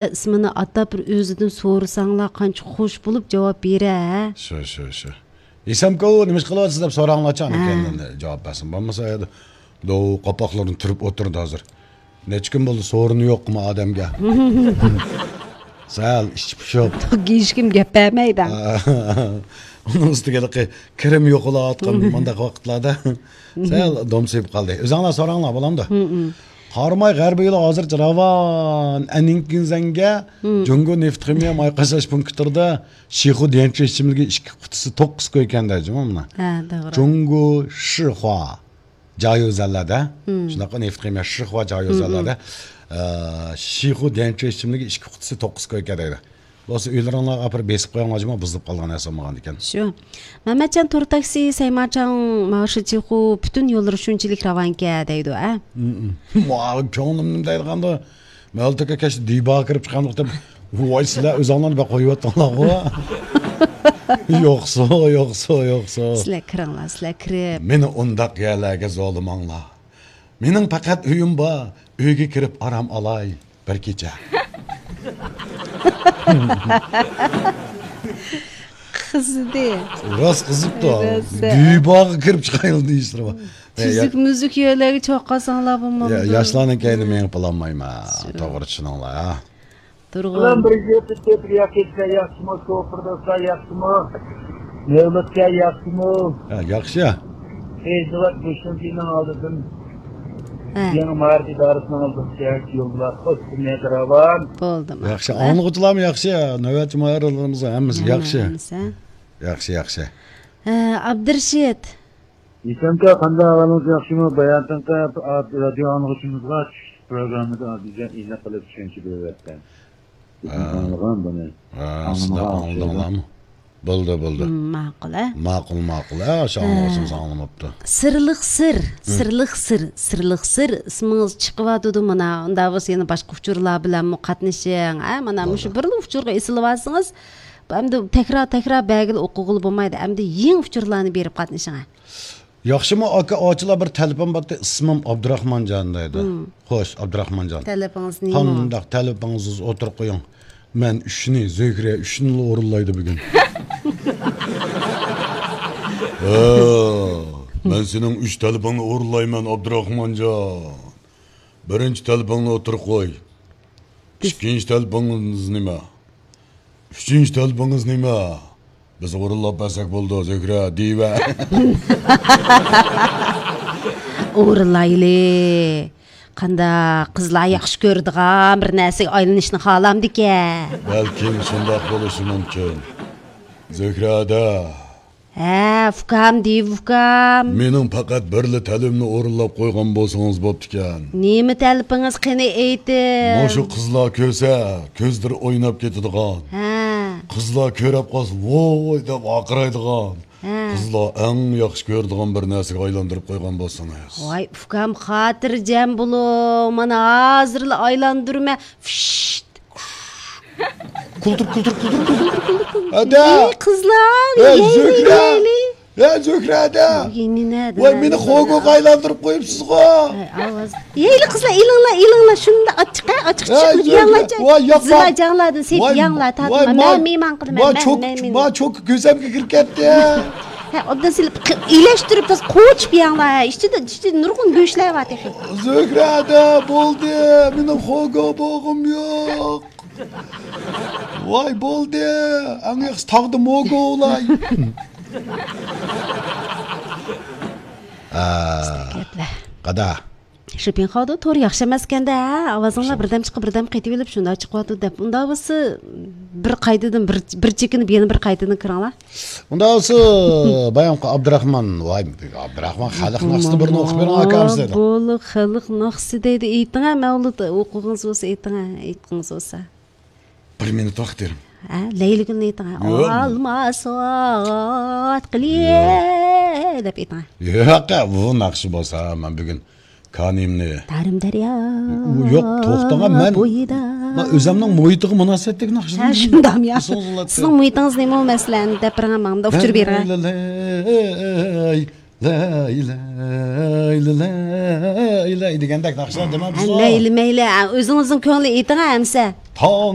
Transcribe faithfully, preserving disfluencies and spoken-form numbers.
ئىسمىنى ئاتاپ بىر ئۆزىدىن سورىساڭلار قانچە خوش بولۇپ جاۋاب بېرە، ھە؟ شۇ، شۇ، شۇ. ھېسامكا، ئۇ نېمە ئىش قىلىۋاتىسىز دەپ سوراڭلارچۇ، ھە. ئاندىن كېيىن جاۋاب بەرسۇن. بولمىسا، ئەدە، دو قاپاقلىرىنى تۈرۈپ ئولتۇرىدۇ ھازىر. نەچچە كۈن بولدى، سورۇنى يوقمۇ ئادەمگە؟ سەل ئىچى پۇشۇپ. ھېچكىم گەپ بەرمەيدۇ. ئۇنىڭ ئۈستىگە ھېلىقى كىرىم يوقىلاۋاتقان مۇنداق ۋاقىتلاردا سەل دومسىيىپ قالدى. ئۆزۈڭلار سوراڭلار، بولامدۇ؟ قاراماي غەربىي يولى ھازىرچە راۋان. ئەنىڭكىنزەنگە جۇڭگو نېفىت خىمىيە ماي قاچىلاش پونكىتىدا شىخۇ ديەنچۈ ئىچىملىكى ئىككى قۇتىسى توققۇز كوي ئىكەن دەيدۇ، مانا. ھە، توغرا. جۇڭگو شىخۇا جايۇزەنلەردە، شۇنداققۇ نېفىت خىمىيە شىخۇا جايۇزەنلەردە، ئە، شىخۇ ديەنچۈ ئىچىملىكى ئىككى قۇتىسى توققۇز كوي ئىكەن دەيدۇ. بولسا ئۆيلىرىڭلارغا ئاپىرىپ بېسىپ قويۇڭلار جۇمۇ، بۇزۇلۇپ قالغان نەرسە بولمىغان ئىكەن. شۇ. مەمەتجان تور تاكسى، سەيمارچاڭ، ماۋۇ شىچىخۇ، پۈتۈن يوللىرى شۇنچىلىك راۋانكەن دەيدۇ، ئە؟ ماۋۇ كۆڭلۈم نېمە دەيدىغاندۇ؟ مەلتىكە كەچتە دىباغا كىرىپ چىققان ۋاقتىم، ۋاي، سىلەر ئۆزۈڭلارنى بەك قويۇۋەتتىڭلارغۇ. يوقسۇ، يوقسۇ، يوقسۇ. سىلەر كىرىڭلار، سىلەر كىرىپ. مېنى ئۇنداق يەرلەرگە زورلىماڭلار. مېنىڭ پەقەت ئۆيۈم بار. ئۆيگە كىرىپ ئارام ئالاي بىر كېچە. قىزىدى. راست قىزىپتۇ. راست. دىباغا كىرىپ چىقايلى دېيىشلىرى بار. تۈزۈك مۈزۈك يەرلەرگە چوققاساڭلار بولمامدۇ؟ يا-، ياشلارنىڭ كەينىدىن مېڭىپ بولالمايمەن. شۇ. توغرا چۈشىنىڭلار، ھە. تۇرغۇن. سالام، بىر يۈز يەتمىش تۆت رىيال كەچلەر ياخشىمۇ؟ شوپۇر دوستلار ياخشىمۇ؟ مەۋلۇتكە ياخشىمۇ؟ ھە، ياخشى. فەيزىۋات مۇشۇنچىنىڭ ئالدىدىن، ھە. يېڭى مائارىپ ئىدارىسىنىڭ ئالدىدىن يول بىلەن خوش كۈنلەردە راۋان. بولدى، ياخشى، ماقۇل، ھە. ئاڭلىغۇچىلارمۇ ياخشى، نۆۋەتچى مائارىپلىرىمىز ھەممىسى ياخشى. ھەممىسى، ھە. ياخشى، ياخشى. ھە، ئابدۇرېشىت. ئېسەمكەن، قانداق ئەھۋالىڭىز، ياخشىمۇ؟ باياتىنقى رادىيو ئاڭلىغۇچىمىزغا چۈشلۈك پروگراممىدا ئازىزجان ئېنىق قىلىپ چۈشەنچە بېرىۋەتكەن. ھە. ئاڭلىغان بۇنى. ھە، سىلەر ئاڭلىدىڭلارمۇ؟ بولدى، بولدى. مم، ماقۇل، ھە؟ ماقۇل، ماقۇل. ھە، شۇ ئاڭلىغۇچىمىز ئاڭلىماپتۇ. سىرلىق سىر، سىرلىق سىر، سىرلىق سىر ئىسمىڭىز چىقىۋاتىدۇ مانا. ئۇنداق بولسا يەنە باشقا ئۇچۇرلار بىلەنمۇ قاتنىشىڭ. ھە، مانا مۇشۇ بىرلا ئۇچۇرغا ئېسىلىۋالسىڭىز، ئەمدى تەكرار، تەكرار بەرگىلى ئوقۇغىلى بولمايدۇ. ئەمدى يېڭى ئۇچۇرلارنى بېرىپ قاتنىشىڭ. ياخشىمۇ ئاكا، ئاچىلا بىر تەلىپىم بارتى، ئىسمىم ئابدۇراخمانجان دەيدۇ. مم. خوش، ئابدۇراخمانجان. تەلىپىڭىز نېمە؟ قانداق تەلىپىڭىز بولسا ئوتتۇرىغا قويۇڭ. مەن ئۈچنى، زۆھرە ئۈچنىلا ئورۇنلايدۇ بۈگۈن. ھە، مەن سېنىڭ ئۈچ تەلىپىڭنى ئورۇنلايمەن، ئابدۇراخمانجان. بىرىنچى تەلىپىڭنى ئوتتۇرىغا قوي. بىز ئىككىنچى تەلىپىڭىز نېمە؟ ئۈچىنچى تەلىپىڭىز نېمە؟ بىز ئورۇنلاپ بەرسەك بولىدۇ، زۆھرە، دېيىۋە. ئورۇنلايلى. قانداق، قىزلار ياخشى كۆرىدىغان بىر نەرسىگە ئايلىنىشنى خالامدىكەن. بەلكىم شۇنداق بولۇشى مۇمكىن. زۆھرە ھەدە. ھە، ئۇكام، دېيىۋە ئۇكام. مېنىڭ پەقەت بىرلا تەلىپىمنى ئورۇنلاپ قويغان بولسىڭىز بوپتىكەن. نېمە تەلىپىڭىز، قېنى ئېيتىڭ. مۇشۇ قىزلار كۆرسە، كۆزلىرى ئويناپ كېتىدىغان. ھە. قىزلار كۆرۈپ قالسا، ۋوي دەپ ۋارقىرايدىغان. ھە. قىزلار ئەڭ ياخشى كۆرىدىغان بىر نەرسىگە ئايلاندۇرۇپ قويغان بولسىڭىز. ۋاي ئۇكام، خاتىرجەم بولۇڭ. مانا ھازىرلا ئايلاندۇرىمەن. فىشت. كۇلتۇر، كۇلتۇر، كۇلتۇر، كۇلتۇر، كۇلتۇر. ھەدە. ئەي قىزلار، ھەي، يەيلى، زۆھرە. يەيلى. ھە، زۆھرە ھەدە. ۋاي، مېنى خوگوغا ئايلاندۇرۇپ قويۇپسىزغۇ. ئاۋاز. يەيلى قىزلار، ئېلىڭلار، ئېلىڭلار. شۇنداق ئاچچىق، ھە، ئاچچىق، ھە، چىقىپ زۆھرە. يەڭلار. ۋاي، ياقما. زىلا جاڭلاردىن سېلىپ يەڭلار، تارتما. مەن مېھمان قىلىمەن، مەن، مەن. ۋاي، چوكا، مەن، مەن. ۋاي، چوكا كۆزۈمگە كىرىپ كەتتى. ھە، ئوبدان سېلىپ، ئىلەشتۈرۈپ، تازا قوچۇپ يەڭلار. ھە، ئىچىدە، ئىچىدە نۇرغۇن گۆشلەر بار تېخى. زۆھرە ھەدە، بولدى. مېنىڭ خوگو بولغۇم يوق. ۋاي، بولدى. ئەڭ ياخشى تاغدا موگو ئوۋلاي. ئا، گەپلەر. قادا. شىپىڭخاۋدا تور ياخشى ئەمەسكەندە، ھە؟ ئاۋازىڭلار بىردەم چىقىپ، بىردەم قېتىۋېلىپ، شۇنداق چىقىۋاتىدۇ دەپ. ئۇنداق بولسا، بىر قايتىدىن، بىر، بىر چېكىنىپ، يەنە بىر قايتىدىن كىرىڭلار. ئۇنداق بولسا، بايامقى ئابدۇراخمان، ۋاي، ئابدۇراخمان خەلق ناخشىسىنى بىرنى ئوقۇپ بېرىڭ، ئاكام سىلەردىن. بولۇ، خەلق ناخشىسى دەيدۇ، ئېيتىڭ، ھە، مەۋلۇت، ئوقۇغىڭىز بولسا ئېيتىڭ، ھە، ئېيتقىڭىز بولسا. بىر مىنۇت ۋاقىت بېرىڭ. ھە، لەيلىگۈلنى ئېيتىڭ، ھە. ياق. ئالما سوغات قىلىي دەپ ئېيتىڭ، ھە. ياق، بۇ ناخشا بولسا، مەن بۈگۈن كانىيىمنى. تارىم دەريا. ياق، توختاڭ، مەن، بويىدا. مەن ئۆزۈمنىڭ مۇھىتىغا مۇناسىۋەتلىك ناخشىلارنى. ھە، شۇنداقمۇ يا؟ سىزنىڭ مۇھىتىڭىز نېمە، مەسىلەن، دەپ بېرىڭ ماڭا، ئۇچۇر بېرىڭ. لەي، لەي، لەي، لەي دېگەندەك ناخشىلار دېمە ھە، مەيلى، مەيلى. ھە، ئۆزىڭىزنىڭ كۆڭلى ئېيتىڭ، ھە، ئەمسە. تاڭ